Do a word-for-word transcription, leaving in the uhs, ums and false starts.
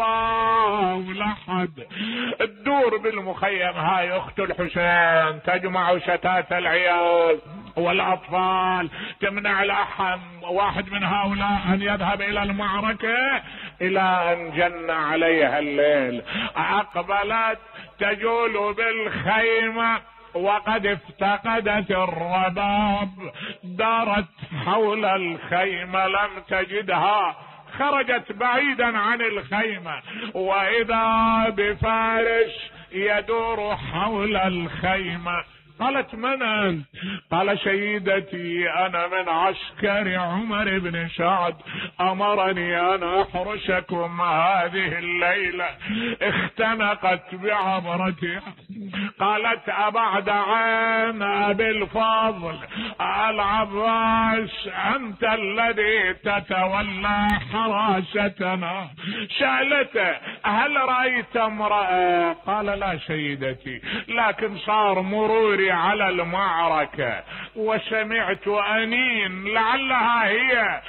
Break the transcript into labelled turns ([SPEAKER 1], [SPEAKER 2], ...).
[SPEAKER 1] الله لحد. تدور بالمخيم هاي اخت الحسين تجمع شتات العيال والاطفال، تمنع الاحد واحد من هؤلاء ان يذهب الى المعركة، الى ان جن عليها الليل. اقبلت تجول بالخيمة وقد افتقدت الرباب، دارت حول الخيمة لم تجدها، خرجت بعيدا عن الخيمة، واذا بفارس يدور حول الخيمة. قالت من انت؟ قال سيدتي انا من عسكر عمر بن سعد، امرني ان احرسكم هذه الليلة. اختنقت بعبرتها. قالت ابعد عن ابي الفضل العباس انت الذي تتولى حراستنا. سألته هل رأيت امرأة؟ قال لا سيدتي، لكن صار مروري على المعركة وسمعت أنين لعلها هي.